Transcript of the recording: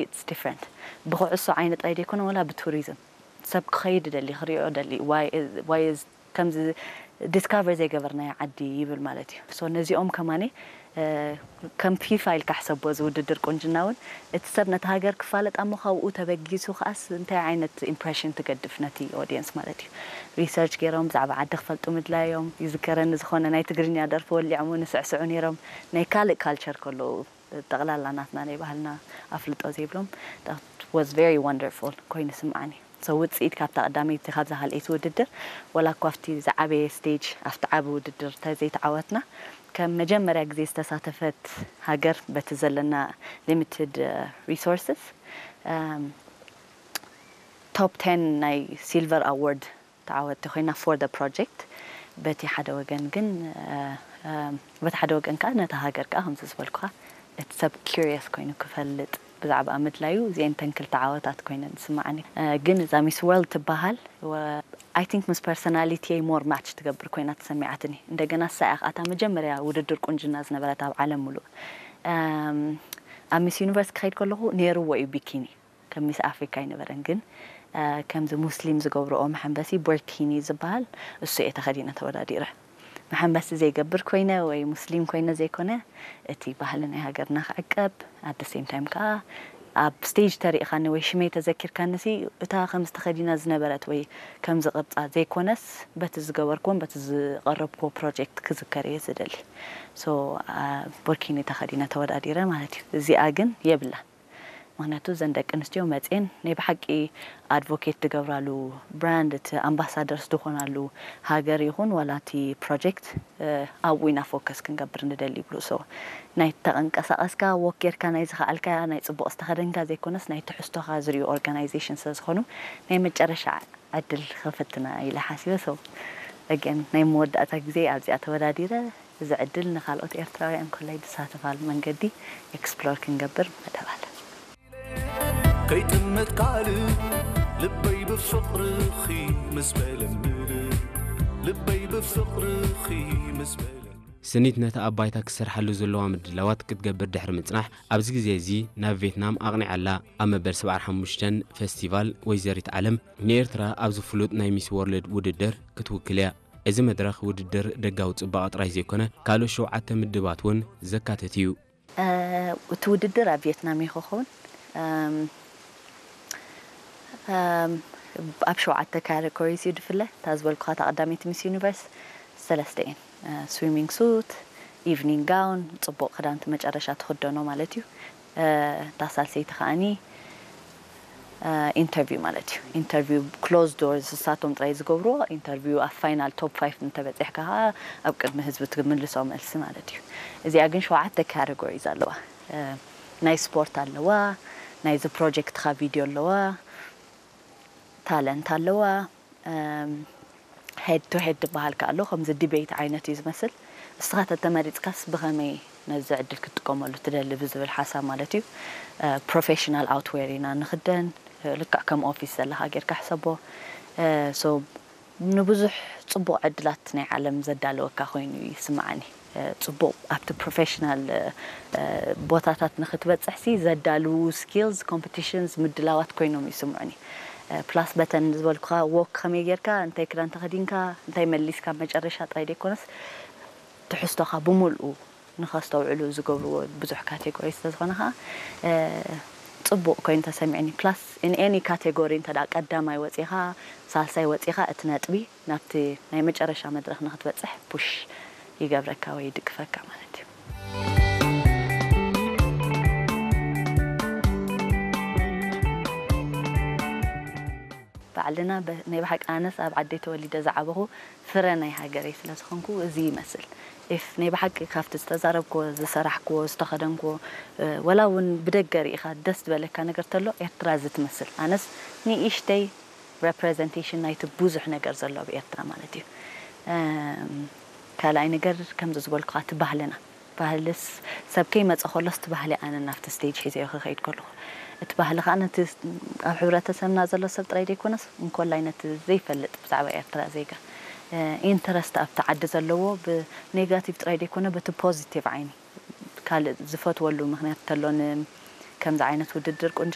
It's different. ብኩዕሶ ዓይነት ጥራይ ዘይኮነ፣ ወላ ብቱሪዝም ሰብ ክኸይድ ደሊ፣ ክሪኦ ደሊ፣ why is- why is- ከምዚ ዲስካቨር ዘይገበርናዮ ዓዲ ይብል ማለት እዩ። So ነዚኦም ከማኒ ከም ፊፋ ኢልካ ሕሰቦ፣ እዚ ውድድር ቁንጅና እውን እቲ ሰብ ነቲ ሃገር ክፋለጥ ኣሞ ካብኡ ተበጊሱ ከኣስ እንታይ ዓይነት ኢምፕሬሽን ትገድፍ ነቲ ኦዲየንስ ማለት እዩ። ሪሰርች ገይሮም ብዛዕባ ዓዲ ክፈልጡ ምድላዮም ይዝከረኒ። ዝኾነ ናይ ትግርኛ ደርፊ ወሊዖም እውን ይስዕስዑ ነይሮም፣ ናይ ካልእ ካልቸር ከለዉ። ጠቕላላ ናትና ናይ ባህልና ኣፍልጦ ዘይብሎም። That was very wonderful ኮይኑ ስምዓኒ። So ውፅኢት ካብታ ቀዳመይቲ ካብዛ ካልኣይቲ ውድድር፣ ወላ እኳ ኣብቲ ዝዓበየ ስቴጅ ኣብቲ ዓቢ ውድድር ተዘይተዓወትና፣ ከም መጀመርያ ግዜ ዝተሳተፈት ሃገር በቲ ዘለና ሊሚትድ ሪሶርስስ ቶፕ ቴን ናይ ሲልቨር ኣዋርድ ተዓወቲ ኮይና for the project። በቲ ሓደ ወገን ግን በቲ ሓደ ወገን ከዓ ነታ ሃገር ከዓ ከምዚ ዝበልኩኻ እቲ ሰብ ኪሪየስ ኮይኑ ክፈልጥ ብዛዕባ ምድላዩ እዚአን ተን ክልተ ዓወታት ኮይነን ዝስማዓኒ። ግን እዛ ሚስ ወርልድ ትበሃል I think ምስ ፐርሶናሊቲ ሞር ማች ትገብር ኮይና ተሰሚዓትኒ። እንደገና እሳ እያ ከኣታ መጀመርያ ውድድር ቁንጅና ዝነበረት ኣብ ዓለም ሙሉእ። ኣብ ሚስ ዩኒቨርስ ክኸይድ ከለኹ ነይርዎ እዩ ቢኪኒ። ከም ሚስ ኣፍሪካ ኣይነበረን፣ ግን ከምዚ ሙስሊም ዝገብርኦ መሐንበሲ ቦርኪኒ ዝበሃል እሱ እየ ተኸዲነ ተወዳዲረ። መሐንበሲ ዘይገብር ኮይነ ወይ ሙስሊም ኮይነ ዘይኮነ፣ እቲ ባህሊ ናይ ሃገርና ክዕቀብ፣ ኣደ ሴም ታይም ከዓ ኣብ ስቴጅ ተሪእኻኒ ወይ ሽመይ ተዘኪርካኒ ሲ እታ ከምዚ ተኸዲና ዝነበረት ወይ ከምዚ ቅርፃ ዘይኮነስ በቲ ዝገበርኩዎን በቲ ዝቐረብኩዎ ፕሮጀክት ክዝከር እየ ዝደሊ። ሶ ቦርኪኒ ተኸዲነ ተወዳዲረ ማለት እዩ። እዚኣ ግን የብላን። ምክንያቱ እዘን ደቂ ኣንስትዮ መፅኤን ናይ ብሓቂ ኣድቮኬት ትገብራሉ ብራንድ፣ እቲ ኣምባሳደርስ ዝኾናሉ ሃገር ይኹን ዋላ እቲ ፕሮጀክት ኣብኡ ኢና ፎከስ ክንገብር ንደሊ ይብሉ። ሶ ናይ ተቐንቀሳቐስካ፣ ወክ ጌርካ፣ ናይ ዝኸኣልካ፣ ናይ ፅቡቕ ዝተኸደንካ ዘይኮነስ ናይ ትሕዝቶኻ ዝሪኡ ኦርጋናይዜሽን ስለ ዝኾኑ ናይ መጨረሻ ዕድል ክፍትና ኢለ ሓሲበ። ሶ ኣገን ናይ መወዳእታ ግዜ ኣብዚኣ ተወዳዲረ እዚ ዕድል ንኻልኦት ኤርትራውያን ኮላይ ዝሳተፋሉ መንገዲ ኤክስፕሎር ክንገብር መደብ ኣለ። ከይጥመት ካልእ ልበይ ብፍቕርኺ ምስ በለ ምልእ ልበይ ብፍቕርኺ ምስ በለ ስኒት ነቲ ኣብ ባይታ ክትሰርሓሉ ዘለዋ ምድላዋት ክትገብር ድሕሪ ምጽናሕ፣ ኣብዚ ግዜ እዚ ናብ ቬትናም ኣቕኒዓ ኣላ። ኣብ መበል ሰብዓን ሓሙሽተን ፈስቲቫል ወይዘሪት ዓለም ንኤርትራ ኣብዚ ፍሉጥ ናይ ሚስ ዎርልድ ውድድር ክትውክል እያ። እዚ መድረኽ ውድድር ደጋዊ ጽባቐ ጥራይ ዘይኮነ፣ ካልኦት ሸውዓተ ምድባት እውን ዘካትት እዩ። እቲ ውድድር ኣብ ቪየትናም እዩ ክኸውን። ኣብ ሸውዓተ ካተጎሪስ እዩ ድፍለ። እታ ዝበልኩኻ እታ ቀዳመይቲ ሚስ ዩኒቨርስ ሰለስተ እየን። ስዊሚንግ ሱት፣ ኢቭኒንግ ጋውን፣ ጽቡቕ ክዳንቲ መጨረሻ ትኽደኖ ማለት እዩ። እታ ሳልሰይቲ ከዓኒ ኢንተርቪው ማለት እዩ። ኢንተርቪው ክሎዝ ዶርስ እሳቶም ጥራይ ዝገብርዎ ኢንተርቪው ኣብ ፋይናል ቶፕ ፋይፍ እንተበፂሕካ ከዓ ኣብ ቅድሚ ህዝቢ ትምልሶ መልሲ ማለት እዩ። እዚኣ ግን ሸውዓተ ካተጎሪስ ኣለዋ። ናይ ስፖርት ኣለዋ፣ ናይዚ ፕሮጀክትካ ቪድዮ ኣለዋ፣ ታለንት ኣለዋ፣ ሄድ ቱ ሄድ ዝበሃል ከ ኣሎ። ከምዚ ዲቤት ዓይነት እዩ ዝመስል። እስኻ ተተመሪፅካስ ብኸመይ ነዚ ዕድል ክትጥቀመሉ ትደሊ ብዝብል ሓሳብ ማለት እዩ። ፕሮፌሽናል ኣውትዌር ኢና ንኽደን፣ ልክዕ ከም ኦፊስ ዘለኻ ጌርካ ሕሰቦ። ሶ ንብዙሕ ፅቡቕ ዕድላት ናይ ዓለም ዘዳለወካ ኮይኑ ይስምዓኒ። ፅቡቕ ኣብቲ ፕሮፌሽናል ቦታታት ንክትበፅሕሲ ዘዳልዉ ስኪልስ ኮምፒቲሽንስ ምድላዋት ኮይኖም ይስምዑኒ። ፕላስ በተን ዝበልኩኻ ዎክ ከመይ ጌርካ እንታይ ክዳን ተኸዲንካ እንታይ መሊስካ መጨረሻ ጥራይ ዘይኮነስ ትሕዝቶኻ ብምልኡ ንኸስተውዕሉ ዝገብርዎ ብዙሕ ካቴጎሪ ስለዝኾነ ከዓ ፅቡቕ ኮይኑ ተሰሚዕኒ። ፕላስ ኢን ኤኒ ካቴጎሪ እንተ ቀዳማይ ወፂኻ ሳልሳይ ወፂኻ እቲ ነጥቢ ናብቲ ናይ መጨረሻ መድረኽ ንክትበፅሕ ፑሽ ይገብረካ ወይ ይድግፈካ ማለት እዩ። ባዕልና ናይ ብሓቂ ኣነስ ኣብ ዓደይ ተወሊደ ዝዓበኹ ፍረ ናይ ሃገረይ ስለ ዝኾንኩ እዚ ይመስል። ኢፍ ናይ ብሓቂ ካብቲ ዝተዛረብክዎ፣ ዝሰራሕክዎ፣ ዝተኸደንክዎ ወላ እውን ብደገ ርኢኻ ደስ ዝበለካ ነገር ተሎ ኤርትራ እዚ ትመስል። ኣነስ ንእሽተይ ሬፕሬዘንቴሽን ናይቲ ብዙሕ ነገር ዘሎ ኣብ ኤርትራ ማለት እዩ። ካልኣይ ነገር ከምዚ ዝበልኩኻ እቲ ባህልና ባህልስ ሰብ ከይመፀ ከሎስ እቲ ባህሊ ኣነ ናብቲ ስቴጅ ሒዘዮ ክኸይድ ከለኹ እቲ ባህሊ ከዓ ነቲ ኣብ ሕብረተሰብና ዘሎ ሰብ ጥራይ ዘይኮነስ እንኮላይ ነቲ ዘይፈልጥ ብዛዕባ ኤርትራ ዜጋ ኢንተረስት ኣብቲ ዓዲ ዘለዎ ብኔጋቲቭ ጥራይ ዘይኮነ በቲ ፖዚቲቭ ዓይኒ ካልእ ዝፈትወሉ ምክንያት ተሎኒ ከምዚ ዓይነት ውድድር ቁንጅና